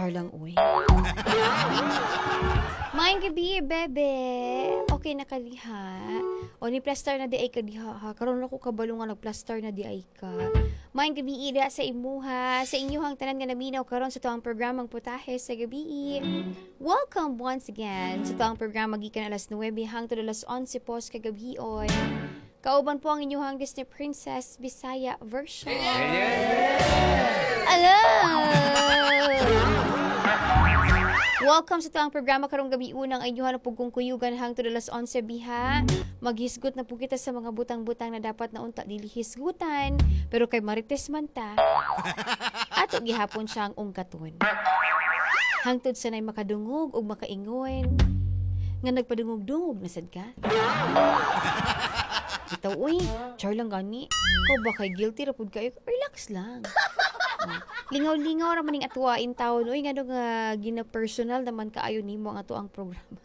Char lang, uy. Maayong gabi, bebe. Okay na ka diha? O ni plaster na diay ka diha ha. Karon ako kabalo nga nagplaster na diay ka. Maayong gabi ida sa imuha, sa inyuhang tanan nga naminaw karon sa tuang programang Putahe sa Gabi. Welcome once again sa tuang programa gikan alas 9 hangtod alas 11 po sa kagabion. Kauban po ang inyuhang Disney Princess Bisaya version. Hello! Welcome sa tuang programa karong gabi unang inyuhan na pugkong kuyugan hangtod alas 11 biha. Maghisgot na po kita sa mga butang-butang na dapat na unta dili hisgutan, pero kay marites man ta. Ato gihapon siyang ungkaton. Hangtod sa nay makadungog ug makaingon nga nagpadungog-dungog na sad ka. Bitaw uy, char lang gani. Ikaw ba kay guilty ra pud kayo? Relax lang. Oh. Lingaw-lingaw ra maning atuwain taon uy, ngano nga gina-personal naman kaayo nimo ang ato ang programa.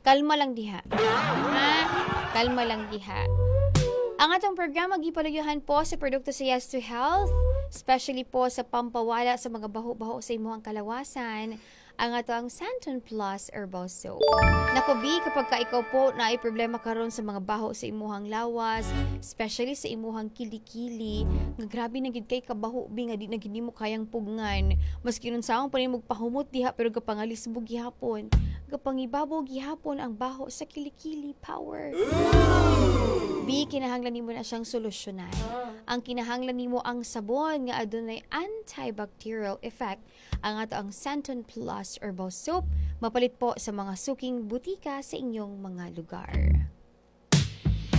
Kalma lang diha. Ha? Kalma lang diha. Ang atong programa gipaluyuhan po sa produkto sa Yes to Health, especially po sa pampawala sa mga baho-baho sa imuhang kalawasan, ang ato ang Santon Plus Herbal Soap. Nako bi, kapag ka ikaw po na ay problema karon sa mga baho sa imuhang lawas, especially sa imuhang kilikili, nga grabe na gid kay kabaho bi nga di na gid nimo kayang pugngan. Maski unsaon pa nimo pahumot diha pero gapangalisbog gihapon, gapangibabaw gihapon ang baho sa kilikili power. Bi, kinahanglan nimo na siyang solusyonan. Ang kinahanglan nimo ang sabon nga adunay antibacterial effect, ang ato ang Santon Plus Herbal Soap, mapalit po sa mga suking butika sa inyong mga lugar.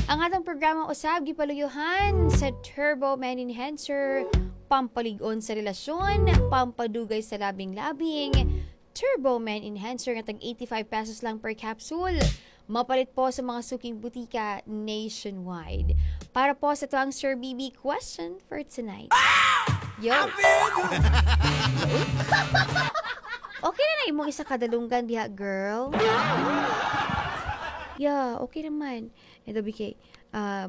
Ang atong programa usab gipaluyuhan sa Turbo Man Enhancer, pampalig-on sa relasyon, pampadugay sa labing-labing. Turbo Man Enhancer nga tag 85 pesos lang per capsule. Mapalit po sa mga suking butika nationwide. Para po sa tuang Sir BB question for tonight. Yo! Okay na na imong isa kadalunggan diha, girl. Yeah, okay naman. Ito, BK,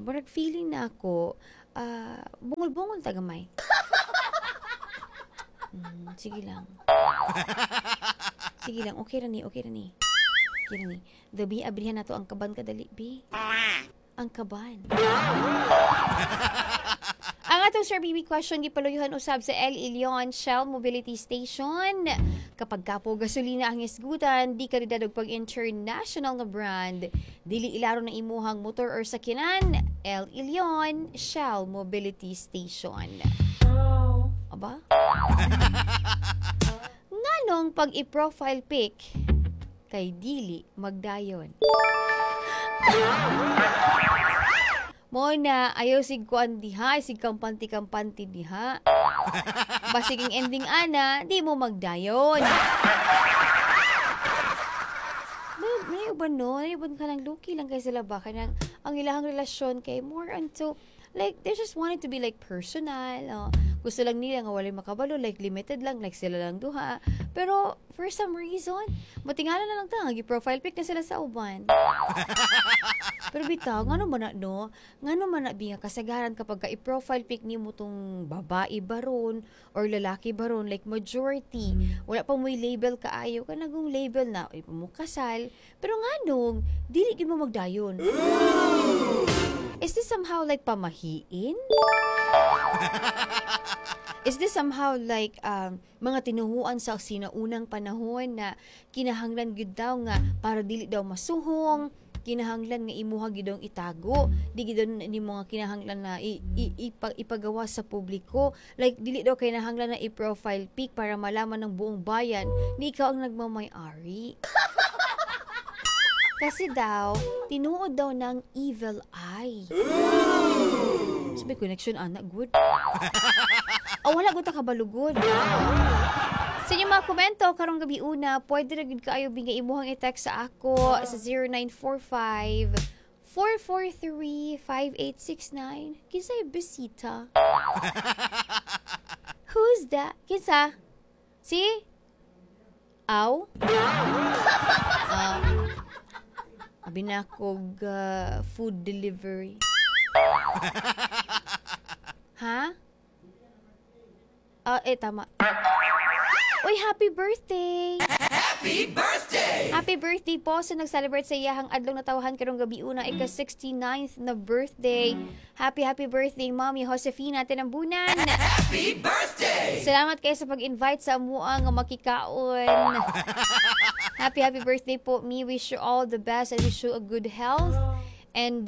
murag feeling na ako, bungol-bungol tagamay. Sige lang. Sige lang, okay ra ni, okay ra ni. Okay ra ni. Dabi, abrihan na to ang kaban kadali, bi. Ang kaban. Ang atong Sir BB question gipaluyuhan usab sa El Ilion Shell Mobility Station. Kapag kapo gasolina ang isgutan, di kalidad og pag-international nga brand. Dili ilaro ng imuhang motor or sakyanan, El Ilion Shell Mobility Station. Aba? Nganong pag i-profile pic kay dili magdayon? Mo na ayaw sig kuan diha, sig kampante-kampante diha. Basig ang ending ana, di mo magdayon. May uban no, may uban ka ng luki lang kay sila ba kanang ang ilahang relasyon kay more onto like they just wanted to be like personal. Oh. Gusto lang nila nga walay makabalo, like limited lang, like sila lang duha. Pero for some reason, matingala na lang ta, gi-profile pic na sila sa uban. Pero bitaw, ngano man na no? Ngano man na bi nga kasagaran kapag ka i-profile pic nimo tong babae baron or lalaki baron, like majority, wala pa mo'y label kaayo, kanagong label na, ay mo kasal, pero nganong dili gid mo magdayon. Is this somehow like pamahiin? Is this somehow like mga tinuhuan sa sinaunang panahon na kinahanglan gyud daw nga para dili daw masuhong, kinahanglan nga imuha gyud daw itago, di gyud nimo nga kinahanglan na ipagawa sa publiko, like dili daw kinahanglan na i-profile pic para malaman ng buong bayan ni ikaw ang nagmamay-ari. Kasi daw, tinuod daw ng evil eye. So may connection, ana, good. Oh, wala gud ta kabalugod. Sa inyong mga komento, karong gabi una, pwede ra gud kaayo binga imuhang i-text sa ako sa 0945-443-5869. Kinsay bisita? Who's that? Kinsa? Si? Aw? Abi na akong food delivery. Ha? Tama. Uy, happy birthday! Happy birthday! Happy birthday po sa nag-celebrate sa iyahang adlaw natawhan karong gabi una, ika-69th na birthday. Happy, happy birthday, Mommy Josefina Tinambunan! Happy birthday! Salamat kayo sa pag-invite sa amua nga makikaon. Happy, happy birthday po. Me wish you all the best and wish you a good health and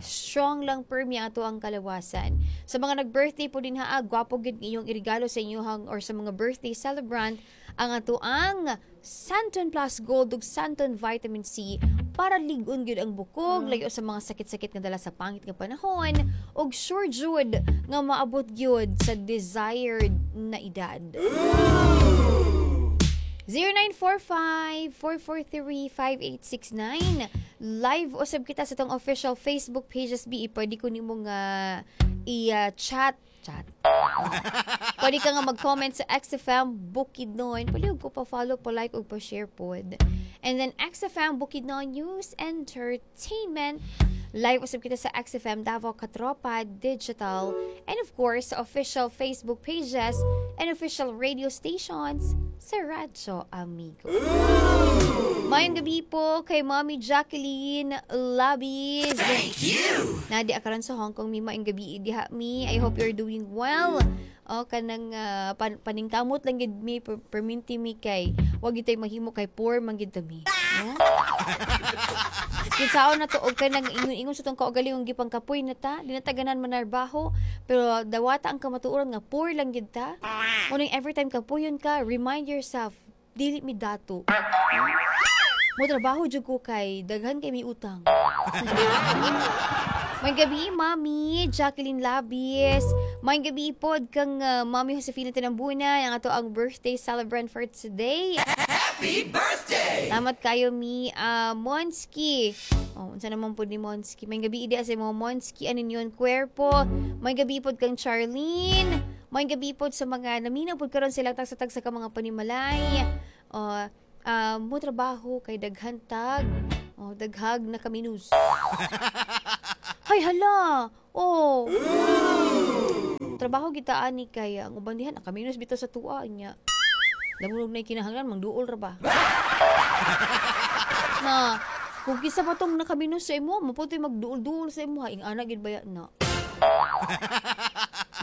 strong lang permi ato ang kalawasan. Sa mga nag-birthday po din ha, gwapo gid inyong irigalo sa inyong or sa mga birthday celebrant ang ato ang Santon Plus Gold ug Santon Vitamin C para lig-on gyud ang bukog, layo sa mga sakit-sakit nga dala sa pangit nga panahon ug sure jud nga maabot gyud sa desired na edad. 0945-443-5869. Live usab kita sa atong official Facebook pages, B. Pwede ko nimo nga i-chat. Chat. Pwede ka nga mag-comment sa XFM Bukidnon. Pwede ko pa-follow, pa-like, ug pa-share pod. And then XFM Bukidnon News Entertainment. Live usab kita sa XFM Davao Katropa Digital. And of course, sa official Facebook pages and official radio stations sa Radyo Amigo. Maayong gabi po kay Mommy Jacqueline Labis. Thank you! Nadi karon sa Hong Kong mi, maayong gabi diha mi. I hope you're doing well. O kanang paningkamot lang gid mi perminti mi kay wag gid tay mahimo kay poor man gid ta mi. No? Kinsaon na to og kanang ingon-ingon sa tong kaugalingong gipangkapoy na ta, di na ta ganahan manarbaho, pero dawata ang kamatuoran nga poor lang gid ta. Muning every time kapuyon ka, remind yourself, dili mi dato. Mo trabaho jud ko kay daghan kay mi utang. May gabi, Mami Jacqueline Labis. May gabi pod kang Mami Josefina Tinambunan, ang ato ang birthday celebrant for today. Happy birthday! Salamat kayo mi Monski. Oh, unsa naman pod ni Monski? May gabi ida sa mo Monski anin yun kwerpo. May gabi pod kang Charlene. May gabi pod sa mga naminaw pod karon sila tagsa-tagsa ka mga panimalay. Oh, mo trabaho kay daghan tag. Oh, daghag na kaminus. Hay hala. Oh. Trabaho kita ani kay ang uban dihan nakaminus bitaw sa tuwa nya. Lamurog na kinahanglan mangduol ra ba? Na kung kisa pa tong nakaminus sa imo, maputoy magduol-duol sa imo, ing ana gid baya na.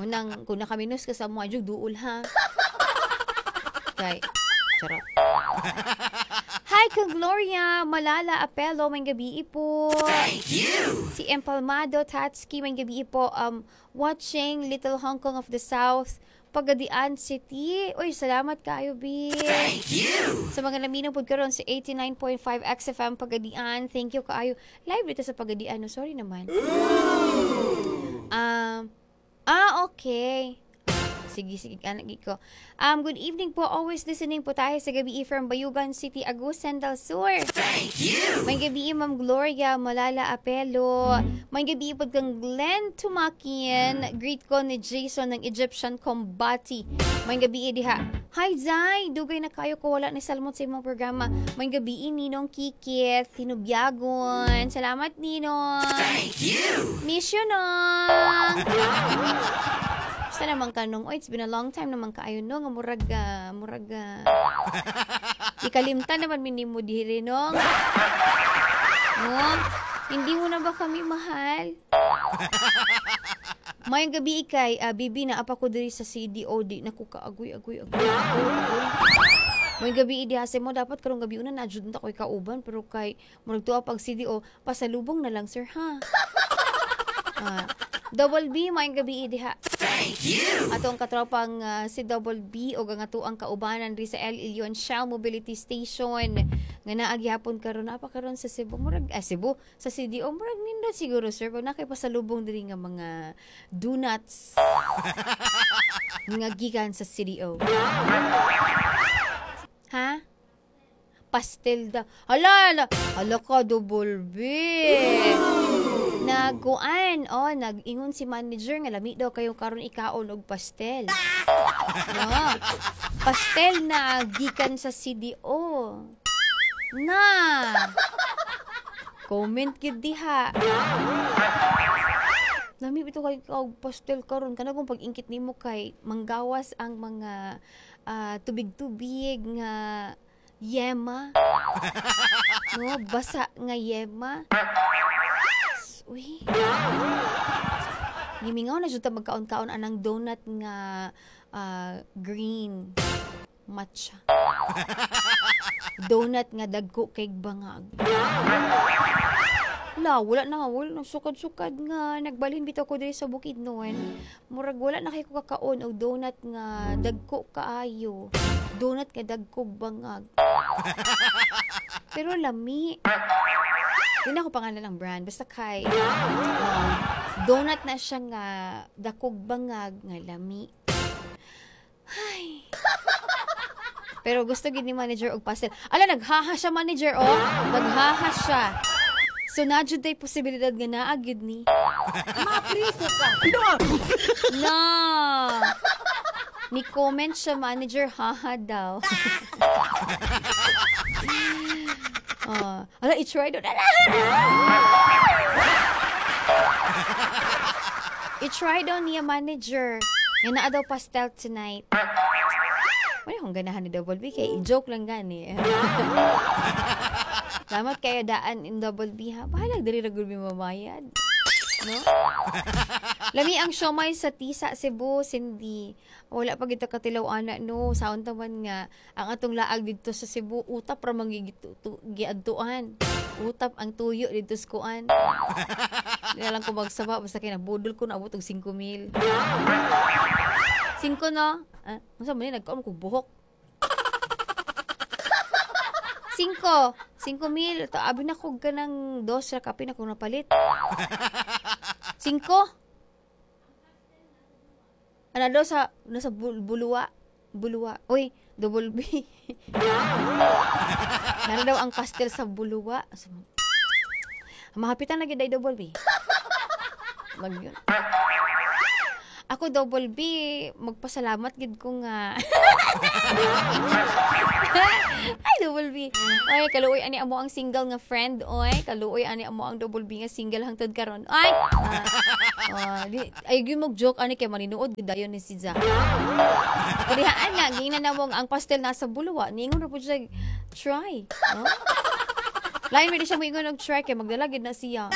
Munang kung nakaminus ka sa mo, adyo duol ha. Kay charot. Hi kang Gloria Malala Apelo, may gabi po. Thank you! Si Empalmado Tatsuki, may gabi po. Watching Little Hong Kong of the South, Pagadian City. Uy, salamat kayo, B. Thank you! Sa mga naminaw pod karon sa 89.5 XFM Pagadian. Thank you kaayo. Live dito sa Pagadian. No? Sorry naman. Okay. Sige, sige, anak ko. Good evening po. Always listening po tayo sa gabi from Bayugan City, Agusan del Sur. Thank you! May gabi, Ma'am Gloria Malala Apelo. May gabi po kang Glenn Tumakin. Greet ko ni Jason ng Egyptian Combati. May gabi diha. Hi Zai, dugay na kayo ko wala ni salmot sa imong programa. May gabi Ninong Kikit, Hinubyagon. Salamat, Ninong. Thank you! Miss you, Nong. Basta naman ka nung, oh, it's been a long time naman kaayo no, nga murag, murag, ikalimtan naman minimo diri nong. No? Hindi mo na ba kami mahal? Mayong gabi ikay, bibi na apa ko diri sa CDO, di na ko kaagoy, agoy, agoy, agoy, agoy. Mayong gabi idi mo dapat karong gabi una na jud ta koy kauban pero kay murag tuwa pag CDO pasalubong na lang sir ha. Double B, mayong gabi diha. Thank you! Ato ang katropang si Double B o ang ato ang kaubanan ri sa El Ilion Shell Mobility Station nga naa gihapon karon apa karon sa Cebu murag Cebu sa CDO murag nindot siguro sir pag nakay pasalubong diri nga mga donuts nga gikan sa CDO ha. Pastel da hala hala hala ka, Double B. Naguan, oh, nag-ingon si manager nga lami daw kayo karon ikaon og pastel. No. Pastel na gikan sa CDO. Na. Comment gid diha. Lami bitaw kay og pastel karon, kana kung pag-ingkit nimo kay manggawas ang mga tubig-tubig nga yema. No, basa nga yema. Uy. Gimingaw na jud ta magkaon-kaon anang donut nga green matcha. Donut nga dagko kay bangag. La, wala na sukad-sukad nga nagbalhin bitaw ko diri sa Bukidnon. Murag wala na kay ko kakaon og donut nga dagko kaayo. Donut nga dagko bangag. Pero lami. Di na ako pangalan ng brand. Basta kay donut na siya nga dakog bangag nga lami. Ay. Pero gusto gid ni manager og pastel. Ala, naghaha siya, manager, oh. Naghaha siya. So na jud tay posibilidad nga naa gyud ni. Mapriso ka. No. Ni comment siya, manager, haha daw. Oh, ala, i-try doon. Ala! I-try daw niya, manager. Nga naa daw pastel tonight. Wala akong ganahan ni Double B kay joke lang gani. Salamat kayo daan in Double B ha. Bahalag diri ra gud mi mamayad. No? Lami ang siomay sa Tisa, Cebu, Cindy. Wala pa kita katilaw ana, no. Saon taman nga ang atong laag didto sa Cebu, utap ra man giadtuan. Utap ang tuyo didto sa kuan. Di na lang ko magsaba basta kay nabudol ko, naabot og 5 mil. 5 no? Ah, unsa man ni, nagkaon ko buhok. 5. 5 mil. To, abi na ko ganang dos ra kape na ko napalit. 5. Ano daw sa nasa Buluwa. Buluwa. Uy, Double B. Nara daw ang pastel sa Buluwa. So, mahapitan na gid ay, Double B. Mag yun. Ako, Double B, magpasalamat gid ko nga. Ay, Double B. Oy, kaluoy ani amo ang single nga friend, oy. Kaluoy ani amo ang Double B nga single hangtod karon. Ay. Di, ay gyud mag joke ani kay maninuod gid dayon ni si Za. Kadihaan nga giingnan namo ang pastel nasa Buluwa. Niingon ra pud siya, try. No? Lain man di siya moingon og try kay magdala gid na siya.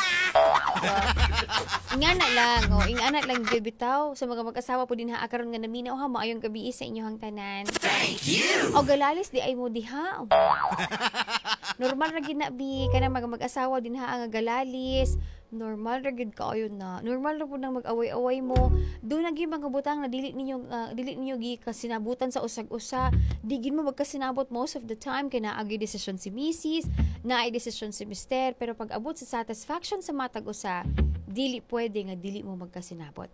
Ingana lang, oh, ingana lang gyud bitaw sa mga mag-asawa po dinha karon nga naminaw ha, maayong gabi sa inyohang tanan. Thank you. O galalis di ay mo diha. Normal ra gid na bi kanang mga mag-asawa dinha nga galalis. Normal ra gid kaayo na. Normal ra pud nang mag-away-away mo. Doon na gyud mga butang na dili ninyo gi kasinabutan sa usag-usa. Di gid mo magkasinabot most of the time kay naa gyud desisyon si misis, naay desisyon si mister, pero pag abot sa satisfaction sa matag usa, dili pwede nga dili mo magkasinabot.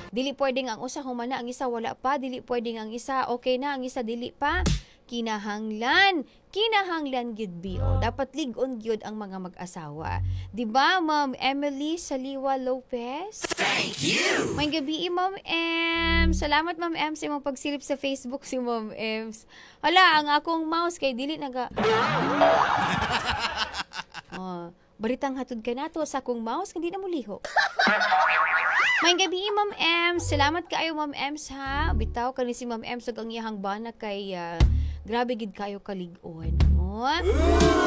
Dili pwede nga ang usa human na, ang isa wala pa. Dili pwede nga ang isa okay na, ang isa dili pa. Kinahanglan, kinahanglan gyud bi. O, dapat lig-on gyud ang mga mag-asawa. Di ba, Ma'am Emily Saliwa Lopez? Thank you. May gabi, Ma'am M. Salamat, Ma'am M, sa imong pagsilip sa Facebook si Ma'am M. Hala, ang akong mouse kay dili naga. Oh, baritang hatod ka nato sa akong mouse hindi na muliho. May gabi, Ma'am M. Salamat kaayo, Ma'am M, ha. Bitaw kani si Ma'am M sa ang iyahang bana kay grabe gid kayo kalig-on. Oh.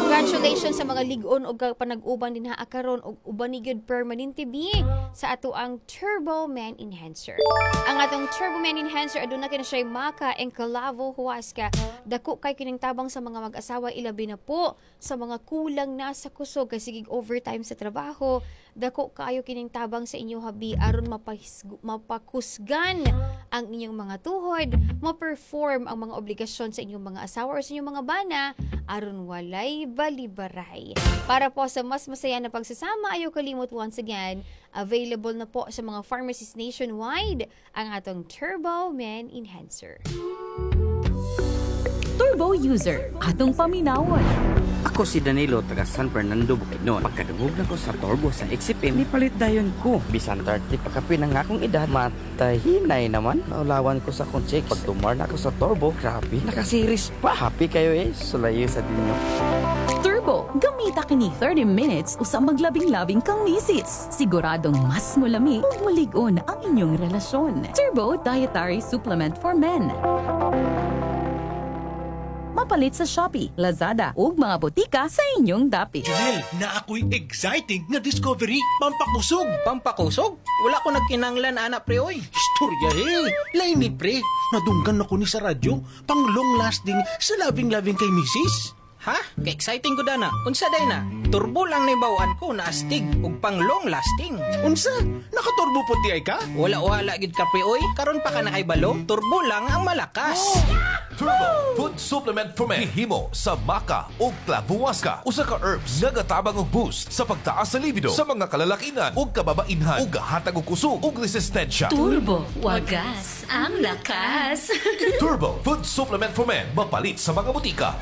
Congratulations sa mga lig-on og panag-uban din ha karon og uban ni gyud permanente bi sa ato ang Turbo Man Enhancer. Ang atong Turbo Man Enhancer aduna kini siya Maka and Calavo Huasca. Dako kay kining tabang sa mga mag-asawa, ilabi na po sa mga kulang na sa kusog kay sigig overtime sa trabaho. Dako kaayo kining tabang sa inyo habi aron mapakusgan ang inyong mga tuhod, ma-perform ang mga obligasyon sa inyong mga asawa or sa inyong mga bana aron walay balibaray. Para po sa mas masaya na pagsasama, ayaw kalimot, once again, available na po sa mga pharmacies nationwide ang atong Turbo Man Enhancer. Turbo user, atong paminawon. Ako si Danilo, taga San Fernando, Bukidnon. Pagkadungog na ko sa Turbo sa XFM, nipalit dayon ko. Bisan 30 pa kapin ang akong edad, matahinay naman. Naulawan ko sa akong chicks. Pag tumar na ako sa Turbo, grabe, nakasiris pa. Happy kayo eh, sulayo sa dinyo. Turbo, Gamita kini 30 minutes usa maglabing-labing kang misis. Siguradong mas mulami ug mulig-on ang inyong relasyon. Turbo Dietary Supplement for Men. Mapalit sa Shopee, Lazada ug mga botika sa inyong dapit. Junel, naa ko'y exciting nga discovery. Pampakusog. Pampakusog? Wala ko nagkinanglan ana, pre, oy. Istorya eh. Lain ni, pre. Nadunggan ako ni sa radyo. Pang long lasting sa loving-loving kay misis. Ha? Ka-exciting ko dana. Unsa day na? Turbo lang ni bawaan ko na astig ug pang long lasting. Unsa? Nakaturbo po ti ay ka? Wala wala gid ka, pre, oy. Karon pa ka nakaibalo, turbo lang ang malakas. Turbo Food Supplement for Men. Gihimo sa maca o clavuasca. Usa ka herbs nga gatabang og boost sa pagtaas sa libido sa mga kalalakinan ug kababainhan ug gahatag og kusog ug resistensya. Turbo, wagas ang lakas. Turbo Food Supplement for Men. Mapalit sa mga butika.